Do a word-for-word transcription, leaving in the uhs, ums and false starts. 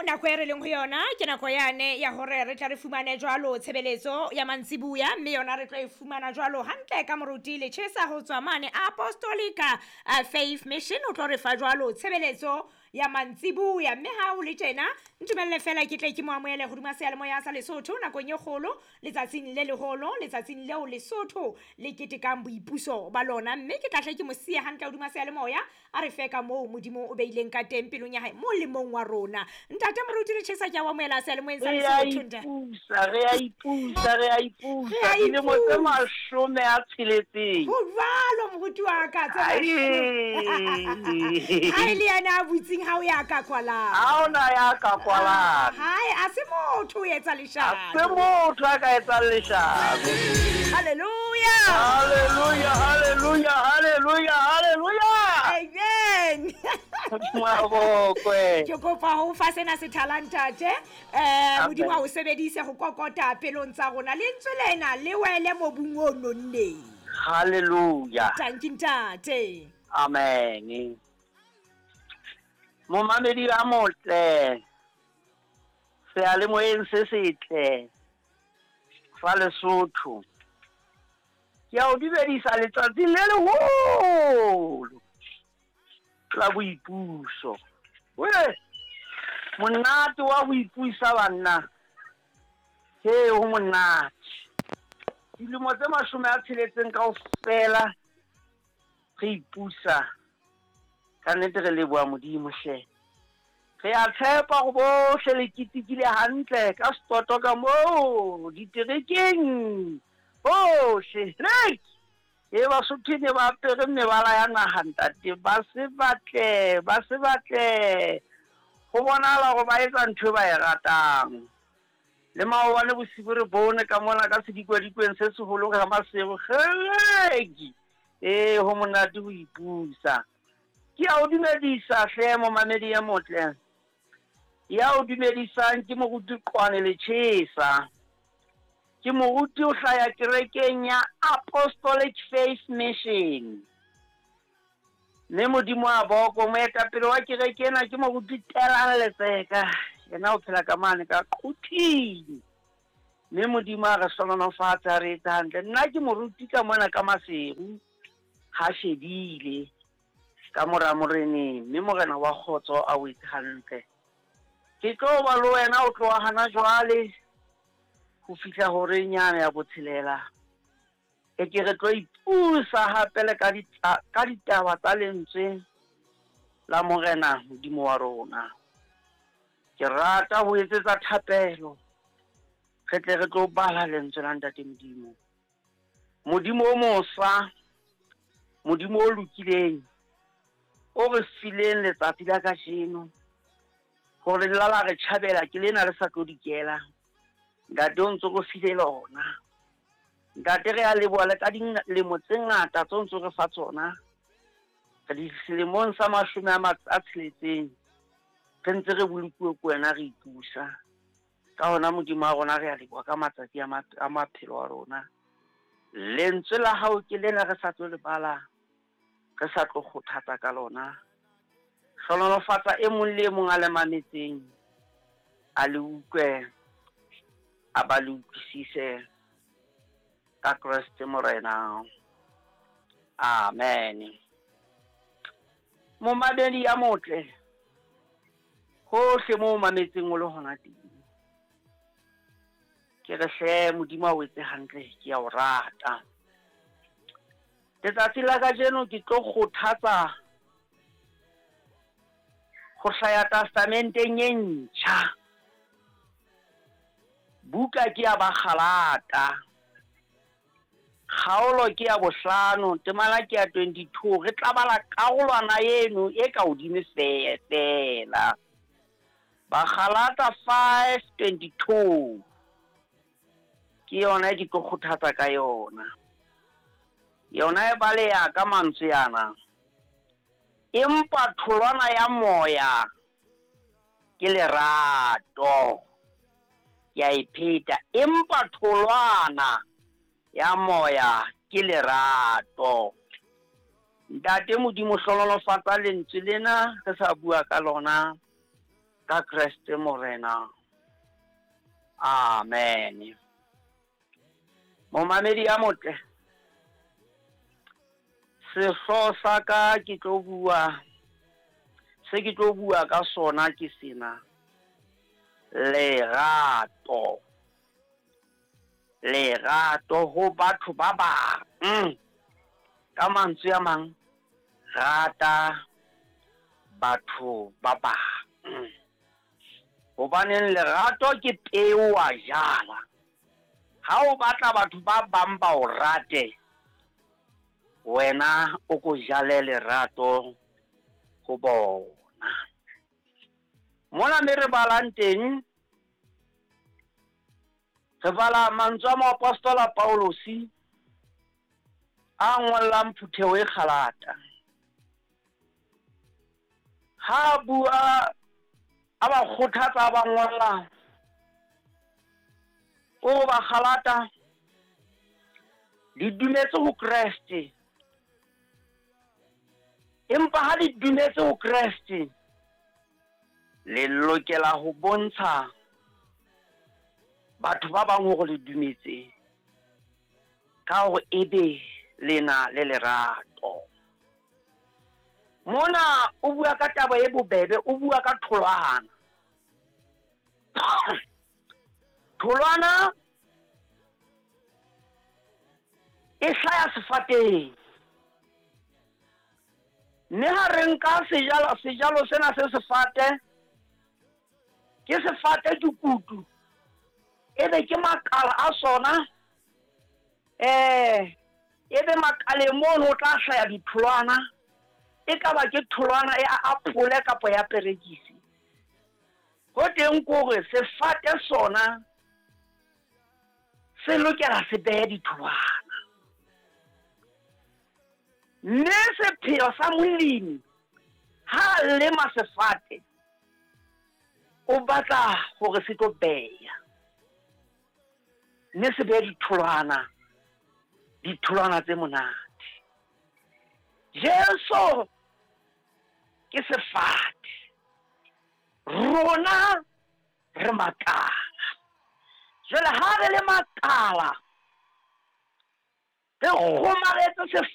Nako e re leng ho yona ke nako yane ya hore re tla re fumane jwalo tshebeletso ya mantsibuya, mme yona re tlo e fumana jwalo hantle ka moruti Lechesa ho tswa mane Apostolica Faith Mission. O tlo re fa jwalo tshebeletso ya mantsibuya, mme ha ho le tjena ntumelle fela ke tle ke mo amohele hodima seyalemoya sa Lesotho nakong e kgolo, letsatsing le leholo, letsatsing leo Lesotho le ketekang boipuso ba lona. Mme ke tla hle ke mo siye hantle hodima seyalemoya a re fe ka moo Modimo o beileng ka teng pelong ya hae molemong wa rona. Ntate Moruti Lechesa, ke a o amohela seyalemoyeng sa Re a Lesotho, ntate. ipusa, re a ipusa, re a ipusa. Re a Dilemo tse ipusa. mashome a tsheletseng. Ho jwalo moruti wa ka, tse mashome. Ha e le yena a butseng, ha o ya ka kwalang. Ha hona ya ka kwalang. Hae, a se motho o etsa Ha leshano. se motho a ka etsang leshano. Hallelujah. Hallelujah, hallelujah, hallelujah, hallelujah. Amen. Modimo a bokwe. Ke kopa ho fa sena sethala ntate. Eh Amen. Modimo a o sebedise ho kokota pelong tsa rona. Lentswe lena le wele mobung o nonneng. Hallelujah. Thank you ntate. Amen. Momamedi a motle, seyalemoyeng se setle sa Lesotho, ke a o dumedisa letsatsing le leholo la boipuso. We monate wa ho ipusa banna, he ho monate. Dilemo tse mashome a tsheletseng kaofela re ipusa, ka nnete re leboha Modimo hle. Re a tshepa hore bohle le ketekile hantle ka setoto ka moo diterekeng bohle. Rek! E Basotho ne ba apere mebala ya naha ntate, ba se batle, ba se batle. Ho bonahala hore ba etsa ntho e ba e ratang. Le maobane bosibu re bone ka mona ka sedikwadikwen se seholo ka Maseru, kgeleki. Ee, ho monate ho ipusa. Ke a o dumedisa hle momamedi e motle. Ya o dumedisang ke moruti Qwane Lechesa. Ke moruti o hlaya kerekeng ya Apostolic Faith Mission. Mme Modimo a boko, moetapele wa kereke ena ke moruti Telang Letseka. Yena o phela ka mane ka Quthing. Mme Modimo a re hlohonolofatse, a re etse hantle. Nna ke moruti ka mona ka Maseru, ha shebile ka mora moreneng, mme morena wa kgotso a o etse hantle. Ke tlo ba le wena o tloha hana jwale ho fihla horeng yane ya botshelela. E ke re tlo ipusa hape le ka ditla-, ka ditaba tsa lentswe la morena Modimo wa rona. Ke rata ho etsetsa thapelo, re tle re tlo bala lentswe la Ntate Modimo. Modimo o mosa, Modimo o lokileng, o re fileng letsatsi la kajeno hore le la la re tjhabela, ke lena le sa tlo dikela. Ntate o ntso re file lona. Ntate re a leboha le ka dilemo tse ngata tse o ntso re fa tsona. Re di selemong sa mashome a ma-, a tsheletseng, re ntse re bolokuwe ke wena, re ipusa. Ka hona Modimo wa rona re a leboha ka matsatsi a ma-, a maphelo a rona. Lentswe la hao ke lena re sa tlo le bala, re sa tlo kgothatsa ka lona. Hlohonolofatsa e mong le e mong a le mametseng, a le utlwe, a ba le utlwisise ka Kreste Morena. Amen. Momamedi ya motle, hohle moo o mametseng o le hona teng, ke re hle Modimo a o etse hantle, ke a o rata. Letsatsi la kajeno ke tlo kgothatsa ho hlaya testamenteng e ntjha. Buka ke ya Bagalata, kgaolo ke ya bohlano, temana ke ya twenty-two. Re tla bala karolwana eno e ka hodimo feela. Bagalata five twenty-two ke yona e ke tlo kgothatsa ka yona. Yona e baleha ka mantswe ana: empa tholwana ya moya ke lerato. Ke a e pheta, empa tholwana ya moya ke lerato. Ntate Modimo, hlohonolofatsa lentswe lena re sa bua ka lona. Ka Kreste Morena. Amen. Momamedi ya motle, sehlooho sa ka ke tlo bua, se ke tlo bua ka sona ke sena: lerato. Lerato ho batho ba bang. Ka mantswe a mang, rata batho ba bang. Hobaneng lerato ke peo wa jala. Ha o batla batho ba bang ba o rate, wena o ko jale lerato ho bona. Mona me re balang teng, re bala mantswe a moapostola Paulosi a ngollang phutheho e Galata. Ha bua a ba kgothatsa, ba ngolla o ba Galata, le dumetse ho Kreste. Empa ha le dumetse ho Kreste, le lokela ho bontsha batho ba bang hore le dumetse, ka hore ebe lena le lerato. Mona o bua ka taba e bobebe, o bua ka tholwana. Tholwana e hlaya sefateng. Mme ha re nka sejalo, sejalo sena se sefate, ke sefate ke kutu, ebe ke makala a sona, eh ebe makaleng mono o tla hlaya ditholwana. E ka ba ke tholwana ya apole kapa ya perekisi. Ho teng kore sefate sona se lokela se behe ditholwana. Mme sepheo sa molemi ha a lema sefate, o batla hore se tlo beha, mme se behe ditholwana, ditholwana tse monate. Jesu ke sefate, rona re makala. Jwale ha re le makala, re kgomaretse sefate.